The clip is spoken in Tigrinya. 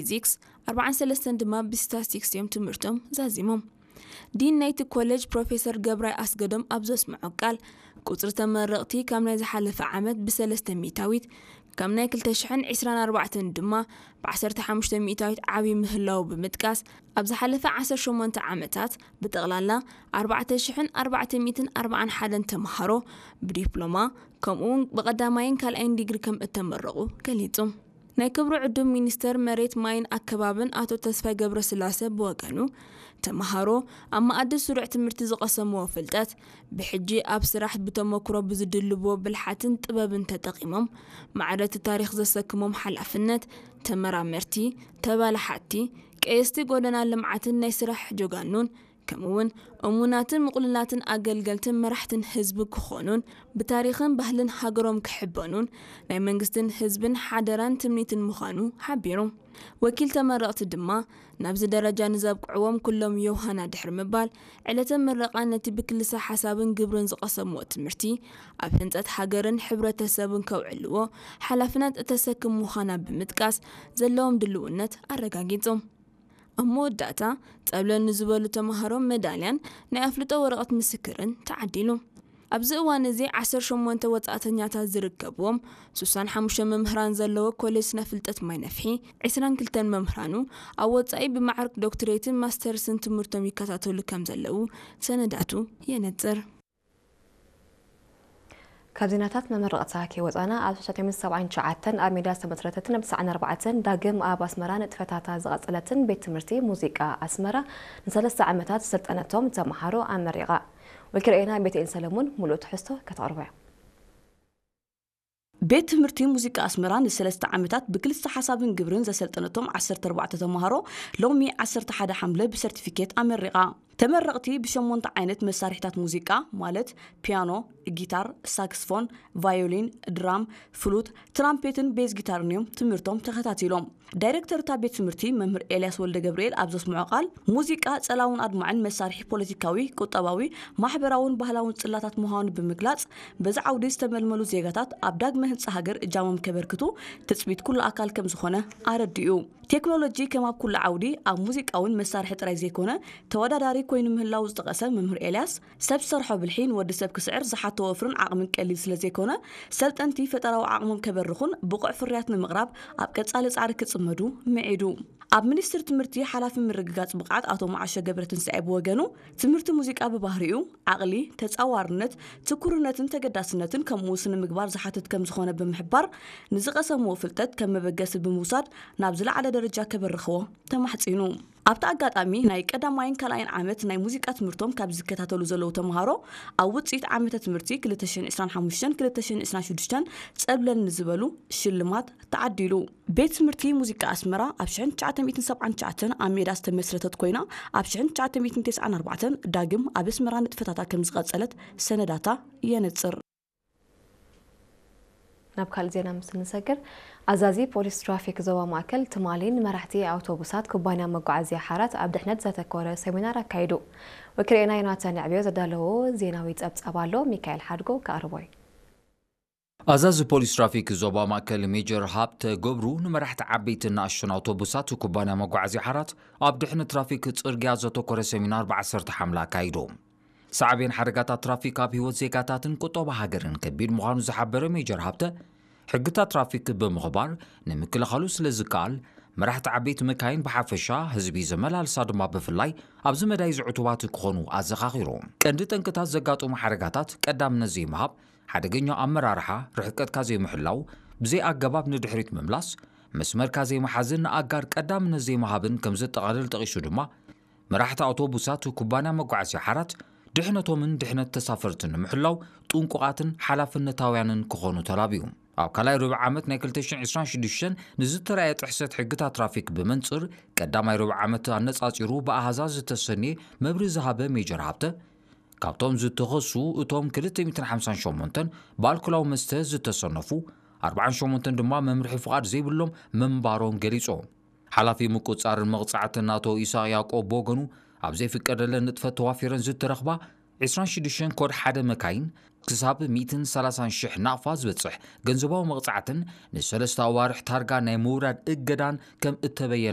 ፊዚክስ፣ ኣርባዓን ሰለስተን ድማ ብስታስቲክስ እዮም ትምህርቶም ዛዚሞም። ዲን ናይቲ ኮሌጅ ፕሮፌሰር ገብራይ ኣስገዶም ኣብ ዘስምዖ ቃል፣ ቁጽሪ ተመረቕቲ ካብ ናይ ዝሓለፈ ዓመት ብሰለስተ ሚእታዊት፣ ካብ ናይ ክልተ ሽሕን ዕስራን ኣርባዕተን ድማ ብዓሰርተ ሓሙሽተ ሚእታዊት ዓብዪ ምህላዉ ብምጥቃስ፣ ኣብ ዝሓለፈ ዓሰርተ ሸሞንተ ዓመታት ብጠቕላላ ኣርባዕተ ሽሕን ኣርባዕተ ሚእትን ኣርባዓን ሓደን ተምሃሮ ብዲፕሎማ ከምኡውን ብቐዳማይን ካልኣይን ዲግሪ ከም እተመረቑ ገሊጹ። ናይ ክብሪ ዕዱም ሚኒስተር መሬት ማይን ኣከባብን ኣቶ ተስፋይ ገብረስላሰ ብወገኑ፣ ተምሃሮ ኣብ መኣዲ ስሩዕ ትምህርቲ ዝቐሰምዎ ፍልጠት ብሕጂ ኣብ ስራሕ ብተመክሮ ብዝድልብዎ ብልሓትን ጥበብን ተጠቒሞም ማዕረ እቲ ታሪኽ ዘሰክሞም ሓላፍነት፣ ተመራመርቲ፣ ተባላሓቲ፣ ቀየስቲ ጎደና ልምዓትን ናይ ስራሕ ጀጋኑን ከምኡውን እሙናትን ምቕሉላትን ኣገልገልትን መራሕትን ህዝቢ ክኾኑን ብታሪኽን ባህልን ሃገሮም ክሕበኑን ናይ መንግስትን ህዝብን ሓደራን ትምኒትን ምዃኑ ሓቢሩ። ወኪል ተመረቕቲ ድማ ናብዚ ደረጃ ንዘብቅዕዎም ኩሎም ዮሃና ድሕሪ ምባል ዕለተ ምረቓ ነቲ ብክልሰ ሓሳብን ግብርን ዝቐሰምዎ ትምህርቲ ኣብ ህንጸት ሃገርን ሕብረተሰብን ከውዕልዎ ሓላፍነት እተሰክም ምዃና ብምጥቃስ ዘለዎም ድልውነት ኣረጋጊጹ። ኣብ መወዳእታ ጸብለል ንዝበሉ ተምሃሮ መዳልያን ናይ ኣፍልጦ ወረቐት ምስክርን ተዓዲሉ። ኣብዚ እዋን እዚ ዓሰርተ ሸሞንተ ወጻእተኛታት ዝርከብዎም ስሳን ሓሙሽተ መምህራን ዘለዎ ኮሌጅ ስነ ፍልጠት ማይ ነፍሒ ዕስራን ክልተን መምህራኑ ኣብ ወጻኢ ብማዕርግ ዶክትሬትን ማስተርስን ትምህርቶም ይከታተሉ ከም ዘለዉ ሰነዳቱ የነጽር። ካብ ዜናታት መመረቕታ ከይወፃና ኣብ ሽሕን ትሽዓተ ሚእትን ሰብዓን ትሽዓተን ኣብ ሜዳ ዝተመስረተትን ኣብ ትስዓን ኣርባዕተን ዳግም ኣብ ኣስመራ ንጥፈታታ ዝቐፀለትን ቤት ትምህርቲ ሙዚቃ ኣስመራ ንሰለስተ ዓመታት ዝሰልጠነቶም ተምሃሮ ኣመሪቓ። ወኪል ርኤና ቤትኤል ሰለሙን ሙሉእ ትሕዝቶ ከተቕርቦ እያ። ቤት ትምህርቲ ሙዚቃ ኣስመራ ንሰለስተ ዓመታት ብክልስተ ሓሳብን ግብርን ዘሰልጠነቶም ዓሰርተ ኣርባዕተ ተምሃሮ ሎሚ ዓሰርተ ሓደ ሓምለ ብሰርቲፊኬት ኣመሪቓ። ተመረቕቲ ብሸሞንተ ዓይነት መሳርሒታት ሙዚቃ ማለት ፒያኖ፣ ጊታር፣ ሳክስፎን፣ ቫዮሊን፣ ድራም፣ ፍሉት፣ ትራምፔትን ቤዝ ጊታርን እዮም ትምህርቶም ተኸታቲሎም። ዳይሬክተር እታ ቤት ትምህርቲ መምህር ኤልያስ ወልደ ገብርኤል ኣብ ዘስምዖ ቃል፣ ሙዚቃ ጸላውን ኣድማዕን መሳርሒ ፖለቲካዊ፣ ቁጠባዊ፣ ማሕበራውን ባህላውን ጽላታት ምዃኑ ብምግላጽ፣ በዚ ዓውዲ ዝተመልመሉ ዜጋታት ኣብ ዳግመ ህንጻ ሃገር እጃሞም ከበርክቱ ትጽቢት ኩሉ ኣካል ከም ዝኾነ ኣረዲኡ። ቴክኖሎጂ ከም ኣብ ኩሉ ዓውዲ ኣብ ሙዚቃ እውን መሳርሒ ጥራይ ዘይኮነ ተወዳዳሪ ኮይኑ ምህላው ዝጠቐሰ መምህር ኤልያስ፣ ሰብ ዝሰርሖ ብልሒ ንወዲ ሰብ ክስዕር ዝሓቶ ወፍርን ዓቕምን ቀሊል ስለ ዘይኮነ ሰልጠንቲ ፈጠራዊ ዓቕሞም ከበርኹን ብቑዕ ፍርያት ንምቕራብ ኣብ ቀጻሊ ጻዕሪ ክጽመዱ ምዒዱ። ኣብ ሚኒስትሪ ትምህርቲ ሓላፊ ምርግጋጽ ብቕዓት ኣቶ መዓሾ ገብረትንሳኤ ብወገኑ ትምህርቲ ሙዚቃ ብባህሪኡ ዓቕሊ፣ ተጻዋርነት፣ ትኩርነትን ተገዳስነትን ከምኡ ስነ ምግባር ዝሓትት ከም ዝኾነ ብምሕባር ንዝቐሰምዎ ፍልጠት ከም መበገሲ ብምውሳድ ናብ ዝለዓለ ደረጃ ከበርኽዎ ተማሕጺኑ። ኣብቲ ኣጋጣሚ ናይ ቀዳማይን ካልኣይን ዓመት ናይ ሙዚቃ ትምህርቶም ካብ ዝከታተሉ ዘለዉ ተምሃሮ ኣብ ውፅኢት ዓመተ ትምህርቲ ክልተ ሽሕን ዕስራን ሓሙሽተን ክልተ ሽሕን ዕስራን ሽዱሽተን ፀብለል ንዝበሉ ሽልማት ተዓዲሉ። ቤት ትምህርቲ ሙዚቃ ኣስመራ ኣብ ሽሕን ትሽዓተ ሚእትን ሰብዓን ትሽዓተን ኣብ ሜዳ ዝተመስረተት ኮይና ኣብ ሽሕን ትሽዓተ ሚእትን ተስዓን ኣርባዕተን ዳግም ኣብ ኣስመራ ንጥፈታታ ከም ዝቐፀለት ሰነዳታ የነፅር። ናብ ካልእ ዜና ምስ እንሰግር፣ ኣዛዚ ፖሊስ ትራፊክ ዞባ ማእከል ትማሊ ንመራሕቲ ኣውቶቡሳት ኩባንያ መጓዓዝያ ሓራት ኣብ ድሕነት ዘተኮረ ሰሚናር ኣካይዱ። ወኪል ርኤና ዮናታን የዕብዮ ዘዳለዎ ዜናዊ ጸብጻብ ኣሎ፣ ሚካኤል ሓድጎ ከቕርቦ እዩ። ኣዛዚ ፖሊስ ትራፊክ ዞባ ማእከል ሜጀር ሃብተ ገብሩ ንመራሕቲ ዓበይትን ንኣሽቱን ኣውቶቡሳት ኩባንያ መጓዓዝያ ሓራት ኣብ ድሕነት ትራፊክ ጽርግያ ዘተኮረ ሰሚናር ብ ዓሰርተ ሓምለ ኣካይዶም። ሳዕቤን ሓደጋታት ትራፊክ ኣብ ህይወት ዜጋታትን ቁጠባ ሃገርን ከቢድ ምዃኑ ዝሓበረ ሜጀር ሃብተ፣ ሕግታት ትራፊክ ብምኽባር ንምክልኻሉ ስለ ዝከኣል፣ መራሕቲ ዓበይቲ መካይን ብሓፈሻ፣ ህዝቢ ዘመላልሳ ድማ ብፍላይ ኣብዚ መዳይ እዚ ዕቱባት ክኾኑ ኣዘኻኺሩ። ቀንዲ ጠንቅታት ዘጋጥሙ ሓደጋታት ቀዳምነት ዘይምሃብ፣ ሓደገኛ ኣመራርሓ፣ ርሕቀትካ ዘይምሕላው፣ ብዘይ ኣገባብ ንድሕሪት ምምላስ፣ መስመርካ ዘይምሓዝን ንኣጋር ቀዳምነት ዘይምሃብን ከም ዘጠቓልል ጠቒሱ ድማ፣ መራሕቲ ኣውቶቡሳት ኩባንያ መጓዓዝያ ሓራት ድሕነቶምን ድሕነት ተሳፈርትን ንምሕላው ጥንቁቓትን ሓላፍነታውያንን ክኾኑ ተላብዩ። ኣብ ካልኣይ ርብዒ ዓመት ናይ ክልተ ሽሕን ዕስራን ሽዱሽተን ንዝተራእየ ጥሕሰት ሕግታት ትራፊክ ብመንጽር ቀዳማይ ርብዒ ዓመት ኣነጻጺሩ ብኣሃዛት ዝተሰንየ መብርሂ ዝሃበ ሜጀር ሃብተ፣ ካብቶም ዝተኸሱ እቶም ክልተ ሚእትን ሓምሳን ሸሞንተን ብኣልኮላዊ መስተ ዝተሰነፉ፣ ኣርባዓን ሸሞንተን ድማ መምርሒ ፍቓድ ዘይብሎም ምንባሮም ገሊጹ። ሓላፊ ምቁጽጻርን መቕጻዕትን ኣቶ ኢሳቕ ያዕቆብ ብወገኑ፣ ኣብ ዘይፍቀደለን ንጥፈት ተዋፊረን ዝተረኽባ ዕስራን ሽዱሽተን ኮድ ሓደ መካይን ክሳብ ሚእትን ሰላሳን ሽሕ ናቕፋ ዝበጽሕ ገንዘባዊ መቕጻዕትን ንሰለስተ ኣዋርሕ ታርጋ ናይ ምውራድ እገዳን ከም እተበየነ